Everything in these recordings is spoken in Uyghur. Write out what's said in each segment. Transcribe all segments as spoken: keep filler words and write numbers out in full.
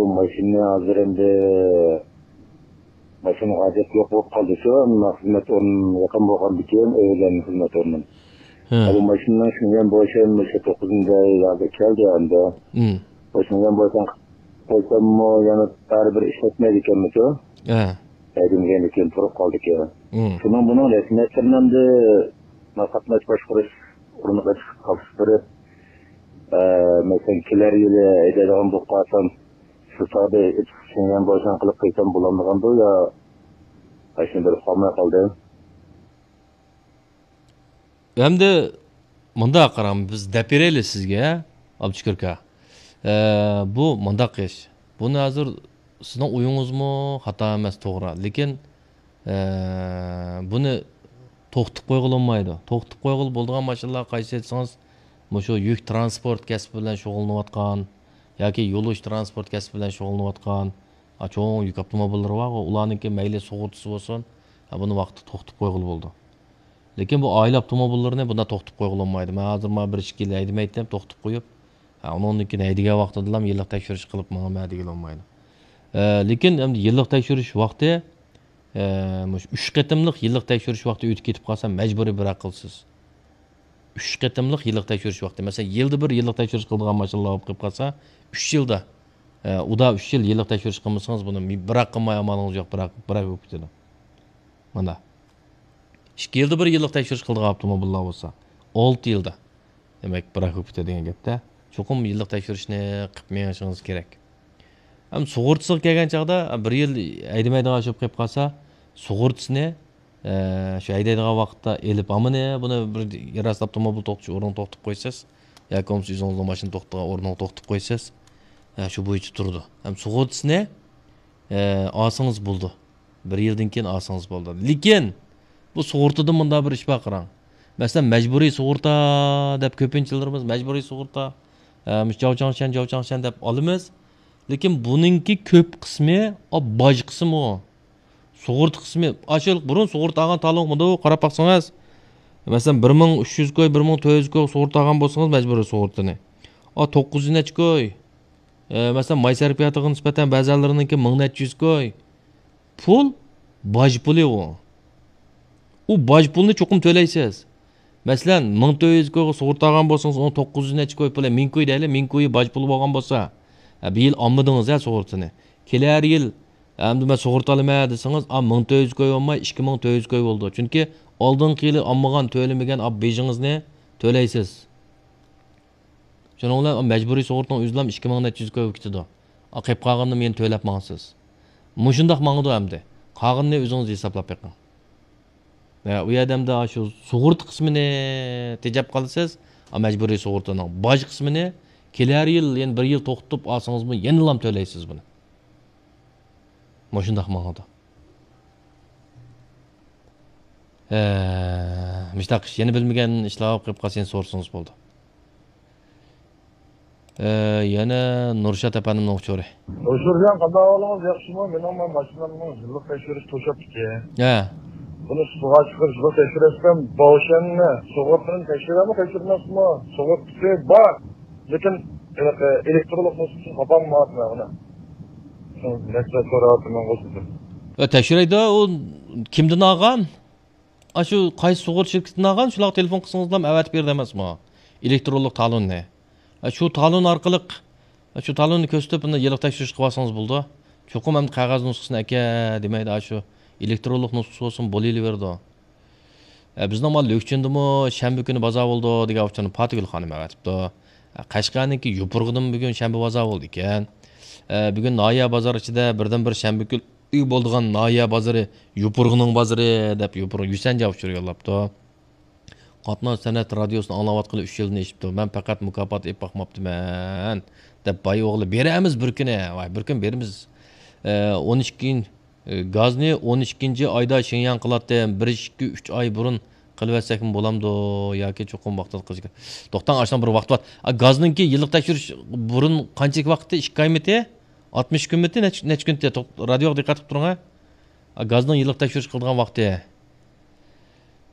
بۇ ماشىنا ھازىر ئەمدى ماشىنىغا ھاجەت يوق بولۇپ قالدى شۇ. مەن خىزمەت ئورنۇم يېقىن بولغاندىكىن، ئۆيلەرنىڭ خىزمەت ئورنۇم. ھە. بۇ ماشىنىنىڭ شىنجيەن بوشەن مۇشۇ توققۇزىنچى ئايلاردا كەلدى ئەمدى. ھىم. بۇ شىنجيەن بوشەن قويساممۇ يەنە بەرىبىر ئىشلەتمەيدىكەنمىشۇ. ھە. ھەيدىمىگەندىن كېيىن تۇرۇپ قالدىكەن. ھىم. شۇنىڭ بۇنىڭ رەسمىيەتلىرىنى ئەمدى قاتناش باشقۇرۇش ئورنىغا تاپشۇرۇپ، ئە، مەسىلەن، كېلەر يىلى ھەيدەيدىغان بولۇپ قالسام، شۇ چاغدا شىنجيەن بوشەن قىلىپ قويسام بولامدىغاندۇ يا ئاشۇنى بىلىپ قالماي قالدىم. ئەمدى مۇنداق قاراڭ، بىز دەپ بېرەيلى سىزگە، ئابدۇشۈكۈر ئاكا. ئە، بۇ مۇنداق ئىش. بۇنى ھازىر سىزنىڭ ئويىڭىزمۇ خاتا ئەمەس، توغرا. لېكىن، ئە، بۇنى توختىتىپ قويغىلى بولمايدۇ. توختىتىپ قويغىلى بولىدىغان ماشىنىلار قايسى دېسىڭىز، مۇشۇ يۈك تىرانسپورت كەسپى بىلەن شۇغۇللىنىۋاتقان ياكى يولۇچى تىرانسپورت كەسپى بىلەن شۇغۇللىنىۋاتقان، ئا، چوڭ يۈك ئاپتوموبىللىرى بارغۇ، ئۇلارنىڭكى مەيلى سۇغۇرتىسى بولسۇن، ھە، بۇنى ۋاقتىدا توختىتىپ قويغىلى بولىدۇ. لېكىن بۇ ئائىلە ئاپتوموبىللىرىنى بۇنداق توختىتىپ قويغىلى بولمايدۇ. مەن ھازىر مانا بىر ئىككى يىل ھەيدىمەيتتىم، توختىتىپ قويۇپ، ھە، ئۇنىڭدىن كېيىن ھەيدىگەن ۋاقتىدىلا يىللىق تەكشۈرۈش قىلىپ ماڭىمەن دېگىلى بولمايدۇ. ئە، لېكىن ئەمدى يىللىق تەكشۈرۈش ۋاقتى، ئە، مۇشۇ ئۈچ قېتىملىق يىللىق تەكشۈرۈش ۋاقتى ئۆتۈپ كېتىپ قالسا، مەجبۇرىي بىر ھەق قىلىسىز. ئۈچ قېتىملىق يىللىق تەكشۈرۈش ۋاقتى. مەسىلەن، يىلدا بىر يىللىق تەكشۈرۈش قىلىدىغان ماشىنىلار بولۇپ قېلىپ قالسا، ئۈچ يىلدا، ئە، ئۇدا ئۈچ يىل يىللىق تەكشۈرۈش قىلمىسىڭىز، بۇنى بىر ھەق قىلماي ئامالىڭىز يوق، بىر ھەق، بىر ھەق بولۇپ كېتىدۇ. مانا. ئىككى يىلدا بىر يىللىق تەكشۈرۈش قىلىدىغان ئاپتوموبىللار بولسا، ئالتە يىلدا، دېمەك، بىر ھەق بولۇپ كېتىدۇ دېگەن گەپتە. چوقۇم يىللىق تەكشۈرۈشنى قىلىپ مېڭىشىڭىز كېرەك. ھەم سۇغۇرتىسىغا كەلگەن چاغدا، بىر يىل ھەيدىمەيدىغان ئىش بولۇپ قېلىپ قالسا، سۇغۇرتىسىنى، ئە، شۇ ھەيدەيدىغان ۋاقىتتا ئېلىپ، ھامىنى بۇنى بىر يەر ئاستى ئاپتوموبىل توختىتىش ئورنىغا توختىتىپ قويىسىز. ياكى بولمىسا ئۆزىڭىزنىڭ ماشىنا توختىغان ئورنىغا توختىتىپ قويىسىز. ھە، شۇ بويىچە تۇرىدۇ. ھەم سۇغۇرتىسىنى، ئە، ئالسىڭىز بولىدۇ. بىر يىلدىن كېيىن ئالسىڭىز بولىدۇ. لېكىن بۇ سۇغۇرتىدا مۇنداق بىر ئىش بار قاراڭ. مەسىلەن، مەجبۇرىي سۇغۇرتا دەپ كۆپىنچىلىرىمىز مەجبۇرىي سۇغۇرتا، ئە، مۇشۇ جاۋچاڭشەن، جاۋچاڭشەن دەپ ئالىمىز. لېكىن بۇنىڭكى كۆپ قىسمى، ئا، باج قىسمى ئۇ. سۇغۇرتا قىسمى، ئاشۇ بۇرۇن سۇغۇرتا ئالغان تالونغىمۇ قاراپ باقسىڭىز، مەسىلەن، بىر مىڭ ئۈچ يۈز كوي، بىر مىڭ تۆت يۈز كوي سۇغۇرتا ئالغان بولسىڭىز، مەجبۇرىي سۇغۇرتىنى. ئا، توققۇز يۈز نەچچە كوي، ئە، مەسىلەن، ماي سەرپىياتىغا نىسبەتەن بەزەنلىرىنىڭكى مىڭ نەچچە يۈز كوي. پۇل، باج پۇلى ئۇ. ئۇ باج پۇلنى چوقۇم تۆلەيسىز. مەسىلەن، مىڭ تۆت يۈز كويغا سۇغۇرتا ئالغان بولسىڭىز، ئۇنىڭ توققۇز يۈز نەچچە كوي پۇلى، مىڭ كوي دەيلى، مىڭ كويى باج پۇلى بولغان بولسا، ھە، بۇ يىل ئالمىدىڭىز ھە سۇغۇرتىنى. كېلەر يىل، ئەمدى مەن سۇغۇرتا ئالىمەن دېسىڭىز، ئا، مىڭ تۆت يۈز كوي بولماي، ئىككى مىڭ تۆت يۈز كوي بولىدۇ. چۈنكى ئالدىنقى يىلى ئالمىغان، تۆلىمىگەن، ئا، بېجىڭىزنى تۆلەيسىز. شۇنىڭ بىلەن مەجبۇرىي سۇغۇرتىنىڭ ئۆزىلا ئىككى مىڭ نەچچە يۈز كويغا كېتىدۇ. ئا، قېلىپ قالغىنىنى يەنە تۆلەپ ماڭىسىز. مۇشۇنداق ماڭىدۇ ئەمدى. قالغىنىنى ئۆزىڭىز ھېسابلاپ بېقىڭ. ئە، ئۇ يەردە ئەمدى شۇ سۇغۇرتا قىسمىنى تېجەپ قالىسىز، ئا، مەجبۇرىي سۇغۇرتىنىڭ باج قىسمىنى كېلەر يىل يەنە بىر يىل توختىتىپ ئالسىڭىزمۇ يەنىلا تۆلەيسىز بۇنى. مۇشۇنداق ماڭىدۇ. ئە، مۇشۇنداق ئىش، يەنە بىلمىگەن ئىشلار قېلىپ قالسا يەنە سورىسىڭىز بولىدۇ. ئە، يەنە نۇرشات ئەپەندىمنىڭ ئۇچۇرى. نۇرشاتجان، قانداق ئەھۋالىڭىز؟ ياخشىمۇ؟ مېنىڭ ماشىنامنىڭ يىللىق تەكشۈرۈشى توشۇپتىكەن. ھە. بۇنى سۇغا چىقىرىش، يىللىق تەكشۈرەسەن، بوشەننى سۇغۇرتىنى تەكشۈرەمۇ، تەكشۈرمەسمۇ؟ سۇغۇرتىسى بار، لېكىن ھېلىقى ئېلېكترونلۇق نۇسخىسىنى تاپالمايۋاتىمەن ئۇنى. شۇ مەسىلە سوراۋاتىمەن ئۇزۇندىن. ئە، تەكشۈرەيدۇ، ئۇ كىمدىن ئالغان؟ ئاشۇ قايسى سۇغۇرتا شىركىتىدىن ئالغان، شۇلارغا تېلېفون قىلسىڭىزلا ئەۋەتىپ بېرىدۇ ئەمەسمۇ؟ ئېلېكترونلۇق تالوننى. ئە، شۇ تالون ئارقىلىق، ئە، شۇ تالوننى كۆرسىتىپ، ئۇنى يىللىق تەكشۈرۈش قىلىۋالسىڭىز بولىدۇ. چوقۇم ئەمدى قەغەز نۇسخىسىنى ئەكە دېمەيدۇ، ئاشۇ ئېلېكترونلۇق نۇسخىسى بولسۇن، بولۇۋېرىدۇ. ئە، بىزنىڭ مانا لۈكچىندىمۇ شەنبە كۈنى بازار بولىدۇ دېگەن ئۇچۇرنى پاتىگۈل خانىم ئەۋەتىپتۇ. ئە، قەشقەرنىڭكى يوپۇرغىدىمۇ بۈگۈن شەنبە بازار بولىدىكەن. ئە، بۈگۈن ناھىيە بازار ئىچىدە بىردىنبىر شەنبە كۈنى بولىدىغان ناھىيە بازىرى، يوپۇرغىنىڭ بازىرى دەپ يوپۇرغا يۈسەن جاۋاب ئۇچۇر يوللاپتۇ. قاتناش سەنئەت رادىيوسىنى ئاڭلاۋاتقىلى ئۈچ يىلدىن ئېشىپتۇ. مەن پەقەت مۇكاپات ئېلىپ باقماپتىمەن، دەپ باي ئوغلى. بېرەرمىز بىر كۈنى. ۋاي، بىر كۈن بېرىمىز. ئە، ئون ئىككى، ئە، گازنى ئون ئىككىنچى ئايدا شىڭياڭ قىلاتتىم. بىر، ئىككى، ئۈچ ئاي بۇرۇن قىلىۋەتسەكمۇ بولامدۇ ياكى چوقۇم ۋاقتىدا قىلىش كېرەك؟ توختاڭ، ئاشۇنىڭ بىر ۋاقتى بار. ئا، گازنىڭكى يىللىق تەكشۈرۈش بۇرۇن قانچىلىك ۋاقىتتا؟ ئىككى ئايمىتى؟ ئاتمىش كۈنمىتى؟ نەچ-، نەچچە كۈنتى؟ توخ-، رادىيوغا دىققەت قىلىپ تۇرۇڭ ھە. ئا، گازنىڭ يىللىق تەكشۈرۈش قىلىدىغان ۋاقتى.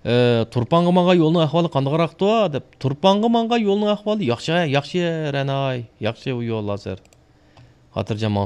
ئە، تۇرپانغا ماڭغان يولنىڭ ئەھۋالى قانداقراقتۇ؟ دەپ، تۇرپانغا ماڭغان يولنىڭ ئەھۋالى ياخشى، ياخشى، رەناي، ياخشى ئۇ يول ھازىر. خاتىرجەم ماڭسا